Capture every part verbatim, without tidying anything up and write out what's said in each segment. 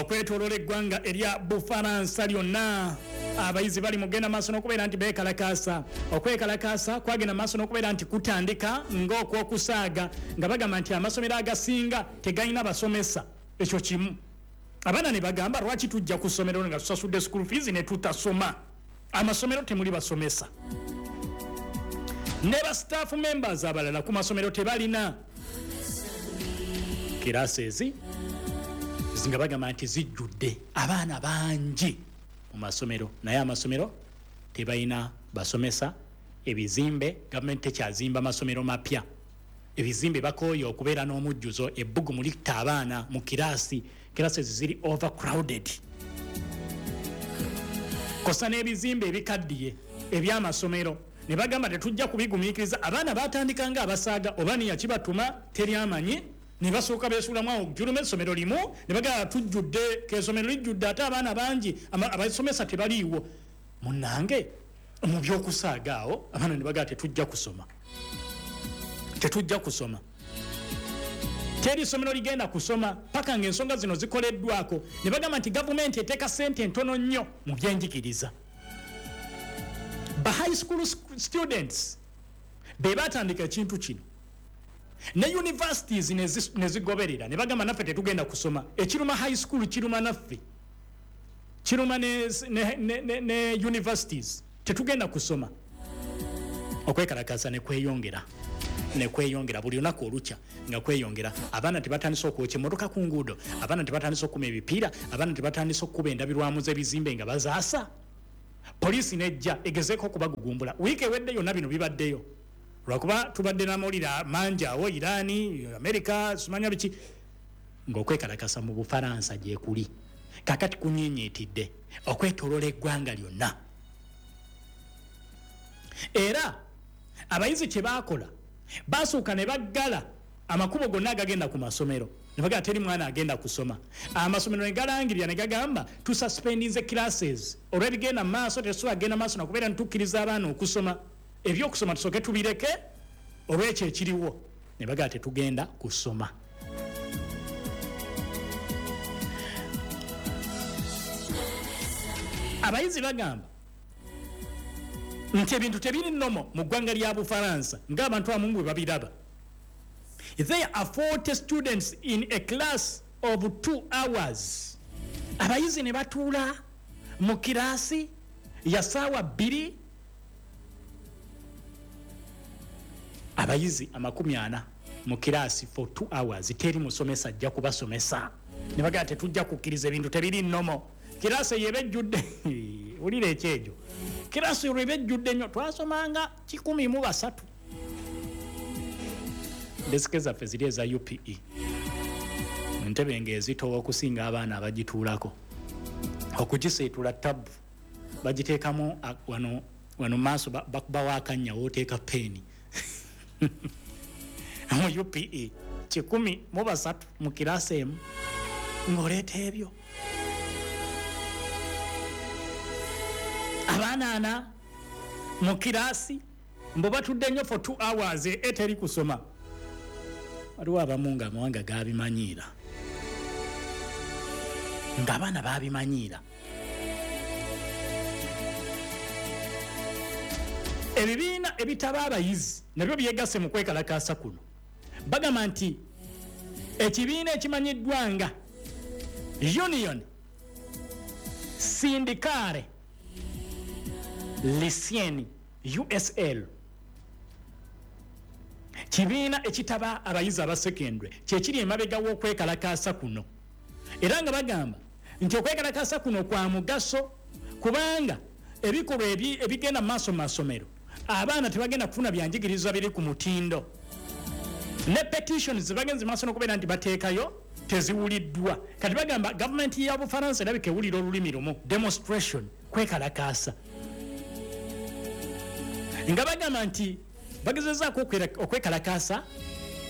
Okwetoloola eggwanga erya Bufaransa lyonna, abayizi bali mugenda maaso n'okubeera nti beekalakaasa. Okwekalakaasa kwagenda maaso n'okubeera nti kutandika ng'okwokusaaga, nga bagamba nti amasomero agasinga tegalina basomesa. Ekyo kimu. Abaana ne bagamba, lwaki tujja ku ssomero nga tusasudde school fees ne tutasoma? Amasomero temuli basomesa, ne ba staff members abalala ku masomero tebalina. Classes nga bagamba nti zijjudde abaana bangi mu masomero, naye amasomero tebalina basomesa. Ebizimbe, gavumenti tekyazimba masomero mapya. Ebizimbe bakooye okubeera n'omujjuzo, ebbugumu litta abaana mu kiraasi, classes ziri overcrowded, kosa n'ebizimbe ebikaddiye ebyamasomero. Ne bagamba tetujja kubigumiikiriza. Abaana batandika nga abasaaga, oba niyakibatuma teri amanyi, ne basooka beesuulamu awo jjuluma essomero limu, ne bagamba tujjudde, k'essomero lijjudde ate abaana bangi, abasomesa tebaliiwo. Munnange, mu byokusaaga awo abaana ne bagamba tetujja kusoma, tetujja kusoma, teri ssomero ligenda kusoma paka ng'ensonga zino zikoleddwako. Ne bagamba nti gavumenti eteeka ssente ntono nnyo mu byenjigiriza. Ba high school students be batandika ekintu kino, ne universities nezigoberera, ne bagamba naffe tetugenda kusoma. Ekiruma high school kiruma naffe, kiruma ne, ne, ne, ne, ne universities, tetugenda kusoma. Okwekalakaasa ne kweyongera ne kweyongera buli lunaku olukya nga kweyongera. Abaana tebatandise okwokya emmotoka ku nguudo, abaana tebatandise okukuma ebipiira, abaana tebatandise okukuba endabirwamu z'ebizimbe nga bazaasa. Poliisi nejja egezeeko okubagugumbula. Wiiki ewedde yonna bino bibaddeyo, lwakuba tubadde n'amawulire mangi awo, Irani, Amerika, simanya biki, ng'okwekalakasa mu Bufaransa gyekuli kakati kunyiinyiitidde okwetoloola eggwanga lyonna. Era abayizi kye baakola, basooka ne baggala amakubo gonna agagenda ku masomero, ne bagamba teri mwana agenda kusoma. Amasomero ne galangirira ne gagamba tususpendinze classes olw'ebigenda mu maaso, tetusobola kugenda maaso nakubeera nitukkiriza abaana okusoma, ebyokusoma tusooke tubireke olw'ekyo ekiriwo. Ne bagamba tetugenda kusoma. Abayizi bagamba nti ebintu tebiri nnomo mu ggwanga lya Bufaransa ng'abantu abamu bwe babiraba. There are forty students in a class of two hours. Abayizi ne batuula mu kiraasi ya ssaawa bbiri, abayizi amakumi ana mu kiraasi for two hours, teri musomesa ajja kubasomesa. Ne bagamba tetujja kukkiriza, ebintu tebiri nnomo. Kiraasi eyo eba ejjudde, wulira ekyejo, kiraasi olwo eba ejjudde nnyo. Twasomanga kikumi mu basatu, desike zaffe ziri eza U P E, entebe ng'ezitowa okusinga abaana abagituulako, okugiseetula tabu, bagiteekamu wano wano maaso, bakubawo akannya wooteeka peeni. Mu U P E kikumi mu basatu mu kiraasi emu, ng'oleeta ebyo abaana ana mu kiraasi mbu batudde nnyo for two hours, eteri kusoma. Waliwo abamu nga amawanga gabimanyiira, ng'abaana babimanyiira. Ebibiina ebitaba abayizi nabyo byegasse mu kwekalakaasa kuno. Bagamba nti ekibiina ekimanyiddwa nga Union Syndicale Lycéenne, U S L, kibiina ekitaba abayizi abasekendwe, kyekiri emabega w'okwekalakaasa kuno. Era nga bagamba nti okwekalakaasa kuno kwa mugaso kubanga ebikolwa ebigenda mu maaso mu masomero, abaana tebagenda kufuna byanjigiriza biri ku mutindo, ne petitions bagenze maaso n'okubeera nti bateekayo teziwuliddwa. Kati bagamba gavumenti ya Bufaransa erabika ewulira olulimi lumu, demonstration, kwekalakaasa, nga bagamba nti bagezezaako okwekalakaasa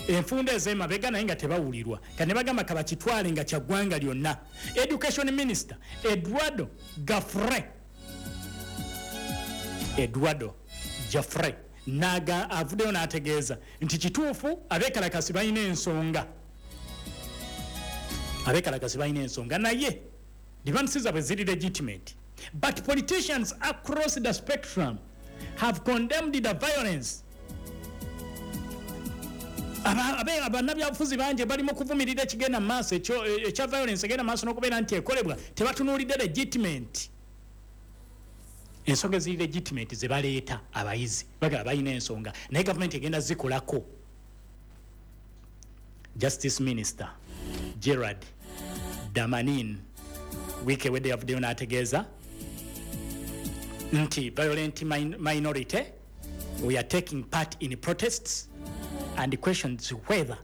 enfunda ez'emabega naye nga tebawulirwa. Kati ne bagamba kabakitwale nga kyaggwanga lyonna. Education Minister Eduardo Jaffré, Eduardo Jaffré naga avuddeyo n'ategeeza nti kituufu abeekalakasi balina ensonga. Abekalakasi balina ensonga, naye demands zaabwe ziri legitimate. But politicians across the spectrum have condemned the violence. Abannabyabufuzi bangi bali mu kuvumirira ekigenda mu maaso ekya violence egenda maaso n'okubeera nti ekolebwa, tebatunuulidde legitimate. Ensonga eziri legitimate ze baleeta abayizi bagala balina ensonga, naye gavumenti egenda zikolako. Justice Minister Gerard Damanin wiiki ewedde yavuddeyo n'ategeeza nti violent minority we are taking part in protests and questions whether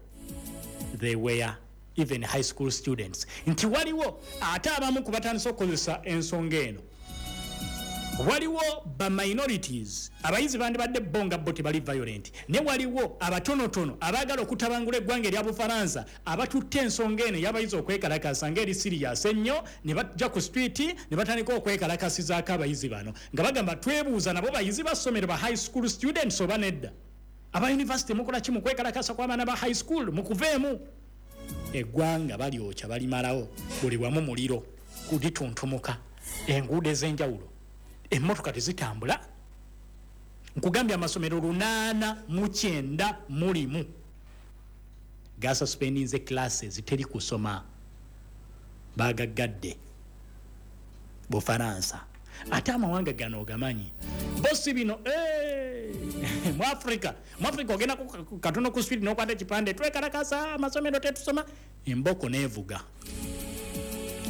they were even high school students. Nti waliwo ate abamu ku batandise okukozesa ensonga eno, waliwo ba minorities, abayizi bandibadde bo nga bo tebali violent, ne waliwo abatonotono abaagala okutabangula eggwanga erya Bufalansa abatutte ensonga eno y'abayizi okwekalakasa ng'eri serious ennyo, ne bajja ku street ne batandika okwekalakasizaako abayizi bano nga bagamba twebuuza nabo bayizi ba ssomero ba high school students oba nedda. Aba university mukola ki mu kwekalakasa kw'abaana ba high school? Mukuveemu. Eggwanga balyokya balimalawo, buli wamu muliro kulituntumuka, enguudo ez'enjawulo emmotoka tezitambula. Nkugambye amasomero lunaana mu kyenda mulimu gasuspendinze classes, teri kusoma, bagaggadde Bufalansa. Ate amawanga gano ogamanyi bosi bino eh, mu Africa, mu Africa ogenda katono ku street n'okwata ekipande twekalakasa amasomero tetusoma, emboko neevuga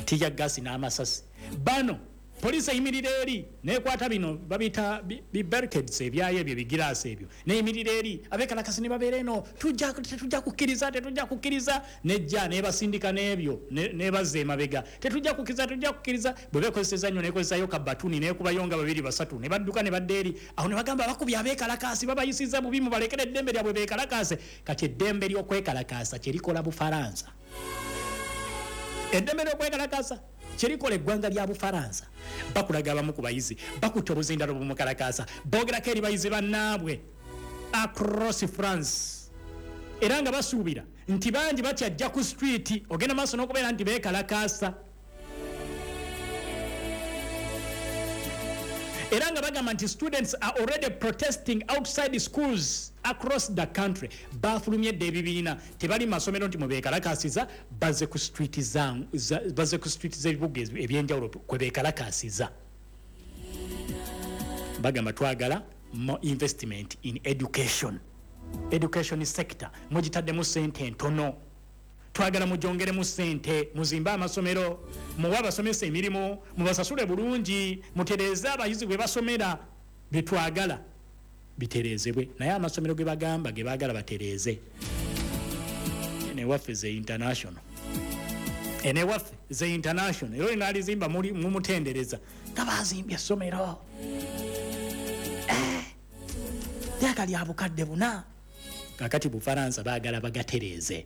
tear gas n'amasasi. Bano poliisi eyimirira eri nekwata bino babiyita bi barricades ebyayo ebyo bigiraasi ebyo, neyimirira eri abekalakasi ne babeera eno, tetujja kukkiriza, tetujja kukkiriza, nejja nebasindika n'ebyo nebazza emabega, tetujja kukkiriza, tetujja kukkiriza. Bwe beekozeseza nnyo neekozesayo kabatuni neekubayo nga babiri basatu ne badduka ne badda eri awo ne bagamba bakubye abeekalakaasi babayisizza bubi, mubalekere eddembe lyabwe beekalakaase. Kati eddembe ly'okwekalakaasa kyerikola Bufalansa, eddembe ly'okwekalakaasa kyerikola eggwanga lya Bufalansa. Bakulaga abamu ku bayizi bakutte obuzindalo bumukalakaasa, boogerako eri bayizi bannaabwe across France, era nga basuubira nti bangi bakyajja ku street ogenda maaso n'okubeera nti beekalakaasa, era nga bagamba nti students are already protesting outside schools across the country. Bafulumye dda ebibiina, tebali mu masomero nti mubeekalakasiza, bazze ku street bazze ku street z'ebibuga ebyenjawulo kwe beekalakasiza. Bagamba twagala more investment in education, education sector mugitaddemu ssente ntono, twagala mugyongeremu ssente, muzimbe amasomero, muwe abasomesa emirimu, mubasasule bulungi, mutereeze abayizi bwe basomera. Byetwagala bitereezebwe, naye amasomero ge bagamba ge baagala batereeze. Enewaffe ze international, enewaffe ze international era olinaalizimba mumutendereza nga bazimbye essomero lyaka lya bukadde buna. Kakati Bufalansa baagala bagatereeze.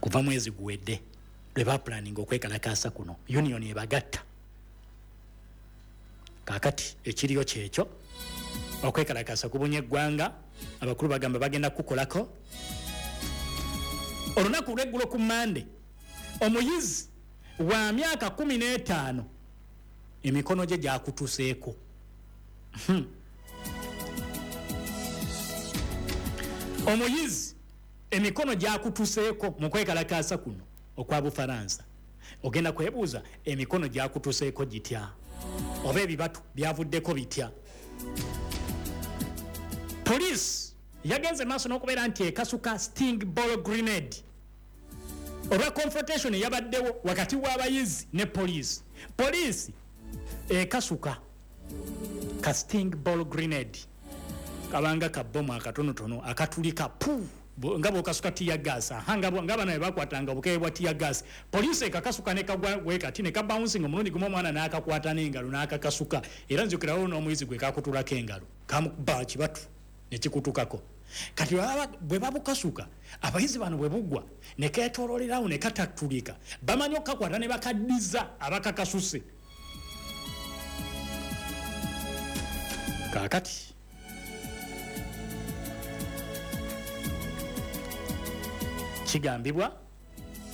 Kuva mwezi guwedde lwe bapulaninga okwekalakaasa kuno, union ebagatta. Kakati ekiriyo kyekyo, okwekalakaasa kubunye eggwanga, abakulu bagamba bagenda kukolako. Olunaku lw'eggulo ku Mmande, omuyizi wa myaka kumi n'etaano emikono gye gyakutuseeko. Omuyizi emikono gyakutuseeko mu kwekalakaasa kuno okwa Bufalansa. Ogenda kwebuuza emikono gyakutuseeko gitya, oba ebibatu byavuddeko bitya. Poliisi yagenze maaso n'okubeera nti ekasuka sting ball grenade olwa confrontation eyabaddewo wakati w'abayizi ne poliisi. Poliisi ekasuka ka sting ball grenade, kabanga kabomu akatonotono akatulika pu nga bw'okasuka tear gas, nga bano bwe bakwatanga obukebe bwa tear gas. Poliisi ekakasuka ne kagwa wekati ne kabouncing omulundi gumu, omwana n'akakwata n'engalo n'akakasuka, era nzijukirawo n'omuyizi gwe kakutulako engalo kamukuba kibatu ne kikutukako. Kati bwe babukasuka abayizi bano bwe bugwa ne keetooloolerawo ne katatulika, bamanyi okukakwata ne bakaddiza abakakasuse. Kaakati Kigambibwa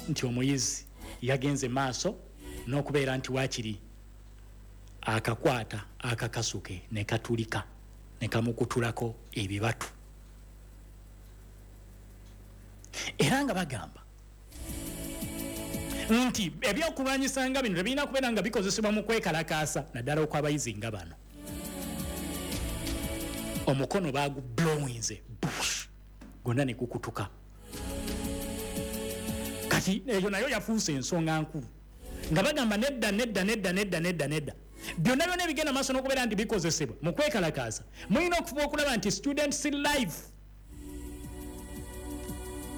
nti omuyizi yagenze maaso n'okubeera nti waakiri akakwata akakasuke ne katulika ne kamukutulako ebibatu. Era nga bagamba nti ebyokulwanyisa nga bino tebirina kubeera nga bikozesebwa mu kwekalakaasa, naddala okw'abayizi nga bano. Omukono bagublowinze bush gwonna ne gukutuka. Kati eyo nayo yafuuse ensonga nkulu, nga bagamba nedda nedda nedda nedda nedda nedda, byonna byonna ebigenda maaso n'okubeera nti bikozesebwa mu kwekalakaasa, mulina okufuba okulaba nti students life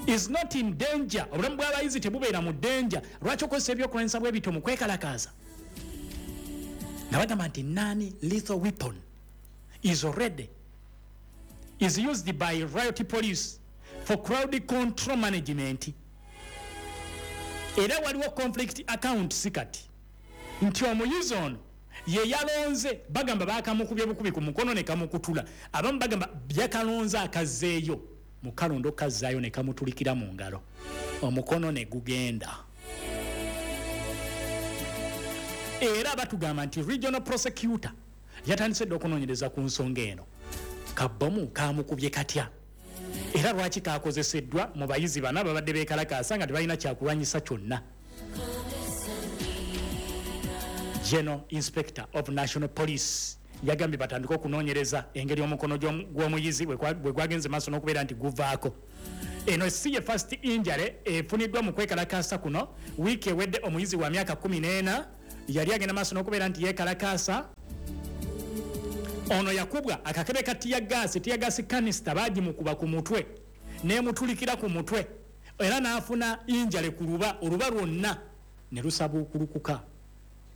is not in danger. Obulamu bw'abayizi tebubeera mu danger. Lwaki okozesa ebyokulwanyisa bwe bityo mu kwekalakaasa? Nga bagamba nti non lethal weapon is already is used by riot police for crowd control management. Era waliwo conflict account kati nti omuyizi ono ye yalonze, bagamba bakamukubye bukubi ku mukono ne kamukutula, abamu bagamba yakalonze akazzeeyo mu kalondo kazzaayo ne kamutulikira mu ngalo, omukono ne gugenda. Era batugamba nti regional prosecutor yatandise dda okunoonyereza ku nsonga eno. Kabomu kamukubye katya, era lwaki kakozeseddwa mu bayizi bano babadde beekalakaasa nga tebalina kyakulwanyisa kyonna? General Inspector of National Police yagambye batandike okunoonyereza engeri omukono gw'omuyizi bwe gwagenze maaso n'okubeera nti guvaako. Eno si ye first injury efuniddwa mu kwekalakaasa kuno. Wiiki ewedde omuyizi wa myaka kumi n'ena yali agenda maaso n'okubeera nti yeekalakaasa. Ono yakubwa akakebe ka tear gas, tear gas canister bagimukuba ku mutwe n'emutulikira ku mutwe, era n'afuna injury ku luba, oluba lwonna ne lusabuukulukuka.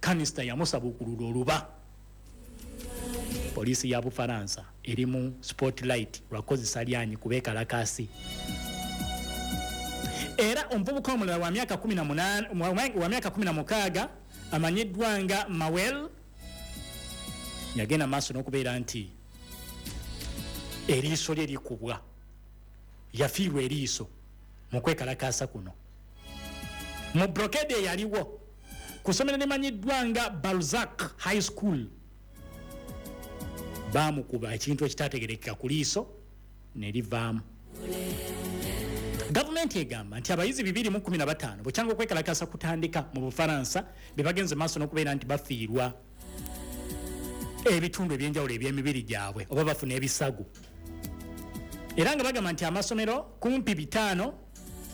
Canister yamusabuukulula oluba. Poliisi ya Bufaransa eri mu spotlight lwakozesa lyanyi ku beekalakaasi. Era omuvubuka omulala wa myaka kumi na munaana, wa myaka kumi na mukaaga amanyiddwa nga Mawel yagenda maaso n'okubeera nti eriiso lye likubwa, yafiirwa eriiso mu kwekalakaasa kuno. Mu brokade eyaliwo ku ssomero limanyiddwa nga Balzac High School baamukuba ekintu ekitategerekeka ku liiso ne livaamu. Gavumenti egamba nti abayizi bibiri mu kkumi na bataano bukyanga okwekalakaasa kutandika mu Bufaransa be bagenze maaso n'okubeera nti bafiirwa ebitundu ebyenjawulo eby'emibiri gyabwe oba bafuna ebisago. Era nga bagamba nti amasomero kumpi bitaano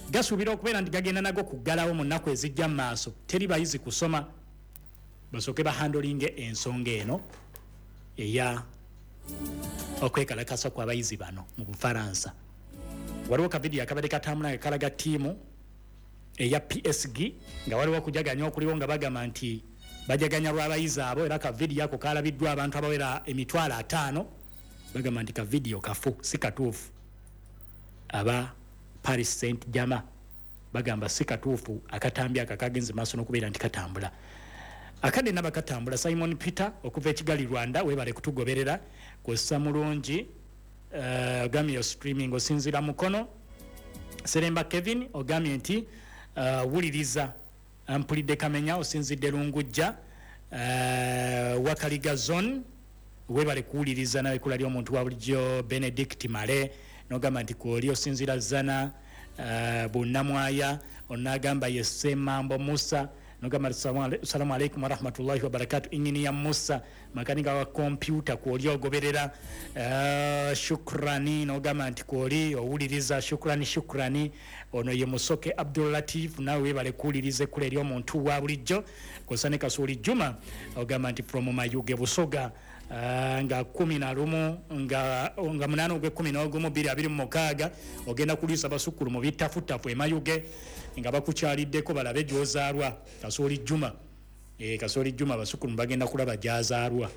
gasuubira okubeera nti gagenda nago kuggalawo mu nnaku ezijja mu maaso, teri bayizi kusoma, basooke bahandolinge ensonga eno eya okwekalakasa kw'abayizi bano mu Bufaransa. Waliwo kavidiyo akabadde katambula nga kalaga ttiimu eya P S G nga waliwo okujaganya okuliwo nga bagamba nti bajaganya lw'abayizi abo, era kavidiyo ako kalabiddwa abantu abawera emitwalo ataano. Bagamba nti kavidiyo kafu, si katuufu. Aba Paris Saint-Germain bagamba si katuufu akatambi ako akagenze maaso n'okubeera nti katambula. Akadde naba katambula. Simon Peter okuva e Kigali Rwanda, weebale kutugoberera kw'ossa mulungi. Uh, ogambye yo streaming osinziira mukono. Seremba Kevin ogambye nti uh, wuliriza mpulidde Kamenya osinzidde Lungujja, uh, Wakaliga zone, weebale kuwuliriza nawe ekkula ly'omuntu wa bulijjo. Benedict Male n'ogamba nti kwoli osinziira Zana, uh, Bunnamwaya. Onagamba ye Ssemambo Musa n'ogamba salamu alaikum warahmatullahi wabarakatu. Inginiya Musa makanika wa kompyuta kwoli ogoberera. Uh, shukrani n'ogamba nti kwoli owuliriza, shukrani shukrani. Ono ye Musoke Abdul Latif nawe weebale kuwuliriza ekkula ery'omuntu wa bulijjo. Kw'ossa ne Kasuuli Juma ogamba nti from Mayuge Busoga, uh, nga kumi na lumu nga, nga munaana ogw'ekkumi n'ogumu bbiri abiri mu mukaaga ogenda kuliisa basukkulu mu bittafutafu e Mayuge nga bakukyaliddeko balabe gy'ozaalwa. Kasuuli Juma, e, Kasuuli Juma basukkulu bagenda kulaba gy'azaalwa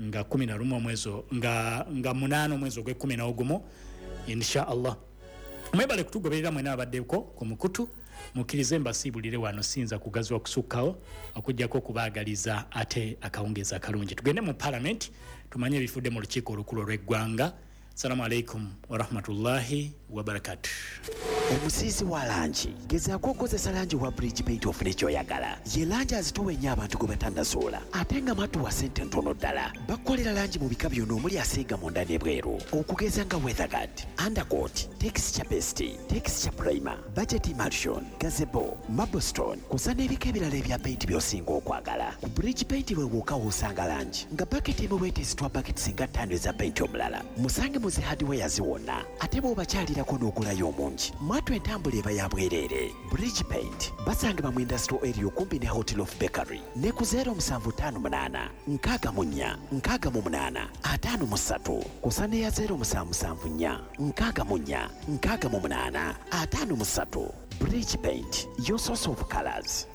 nga kumi na lumu omwezi nga, nga munaana omwezi ogw'ekkumi n'ogumu insha Allah. Mwebale kutugoberera mwena abaddeko ku mukutu, mukkirize mbasiibulire wano, siyinza kugaziwa kusukkawo okuggyako okubaagaliza ate akawungeezi akalungi. Tugende mu parliament tumanye ebifudde mu lukiiko olukulu olw'eggwanga. Assalamu alaikum warahmatullahi Wabarakatu. Omusiizi wa langi, gezaako okukozesa langi wa Bridge Paint ofune ky'oyagala. Ye langi azitowa ennyo abantu gwe batannasoola, ate nga mwattu wa ssente ntono ddala. Bakukolera langi mu bika byonna omuli asiiga munda n'ebweru, okugeza nga weatherguard, undercoat, texture paste, texture primer, budget emulsion, gazebo, marblestone, kw'ossa n'ebika ebirala ebya paint by'osinga okwagala. Ku Bridge Paint we wokka w'osanga langi nga baketi emu bw'eteesitwa baketi singa ttaano eza paint omulala. Musange mu zi hardwares wonna, ate bw'obakyalirako n'ogulayo omungi, mwattu entambula eba ya bwereere. Bridge Paint basangibwa mu industrial area okumpi ne Hotel of Bakery ne ku zero musanvu ttaano munaana nkaaga mu nnya nkaaga mu munaana ataano mu ssatu, kw'ossa n'eya zero musanvu musanvu nnya nkaaga mu nnya nkaaga mu munaana ataano mu ssatu. Bridge Paint, your source of colors.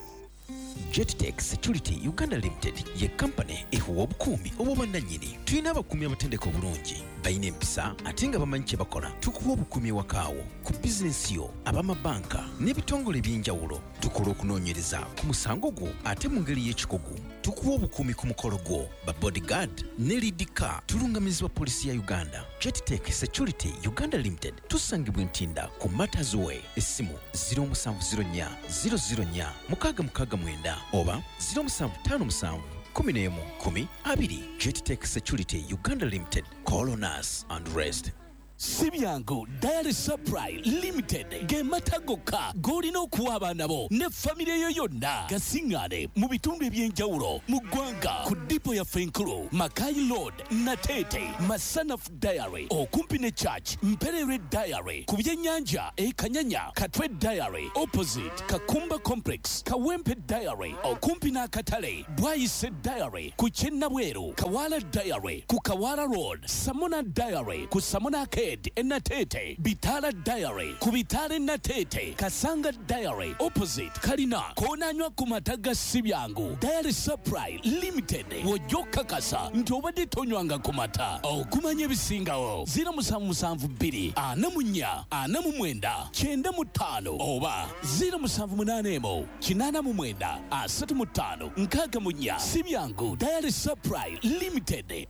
Jettech Security Uganda Limited ye kampani ekuwa obukuumi obw'obwannannyini. Tulina abakuumi abatendeka obulungi, balina empisa ate nga bamanyi kye bakola. Tukuwa obukuumi ewakaawo, ku bizinensi yo, ab'amabanka n'ebitongole eby'enjawulo. Tukola okunoonyereza ku musango gwo ate mu ngeri y'ekikugu. Tukuwa obukuumi ku mukolo gwo, ba bodyguard ne lead car. Tulungamizibwa poliisi ya Uganda. Jettech Security Uganda Limited tusangibwa Ntinda ku Matters Way. Essimu zero musanvu zero nnya zero zero nnya mukaaga mukaaga mwenda oba zero musanvu ttaano musanvu kumi n'emu kumi abiri. Jettech Security Uganda Limited, call on us and rest. Si byangu. Dairy Supply Limited ge mata gokka g'olina okuwa abaana bo ne famire yo yonna. Gasiŋŋaane mu bitundu eby'enjawulo mu ggwanga ku dipo yaffe enkulu, Makai Road, Nateete, Masanaf Dairy okumpi ne church, Mpererwe Dairy ku byennyanja e Kanyanya, Katwe Dairy opposite Kakumba Complex, Kawempe Dairy okumpi n'akatale, Bwayise Dairy ku Kyennabweru, Kawala Dairy ku Kawala Road, Samona Dairy ku Samona Arcade e Nateete, Bitala Dairy ku Bitala e Nateete, Kasanga Dairy opposite Kalina. Koonanywa ku mata ga Sibyangu Dairy Supply Limited, w'ojja okukakasa nti obadde tonywanga ku mata. Okumanya ebisingawo, zero musanvu musanvu bbiri ana mu nnya ana mu mwenda kyenda mu ttaano oba zero musanvu munaana emu kinaana mu mwenda asatu mu ttaano nkaaga mu nnya. Sibyangu Dairy Supply Limited.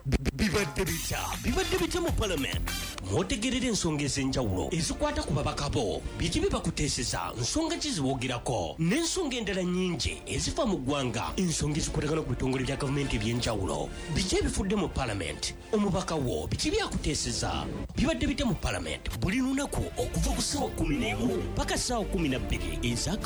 Bibadde bitya? Bibadde bitya mu Parliament? Mwotegerera ensonga ez'enjawulo ezikwata ku babaka bo, biki bye bakuteeseza, nsonga ki ziboogerako, n'ensonga endala nnyingi ezifa mu ggwanga, ensonga ezikwatagana ku bitongole bya gavumenti eby'enjawulo. Biki ebifudde mu Parliament? Omubaka wo biki byakuteeseza? Bibadde bitya mu Parliament buli lunaku okuva ku ssaawa kumi n'emu paka ssaawa kumi na bbiri eza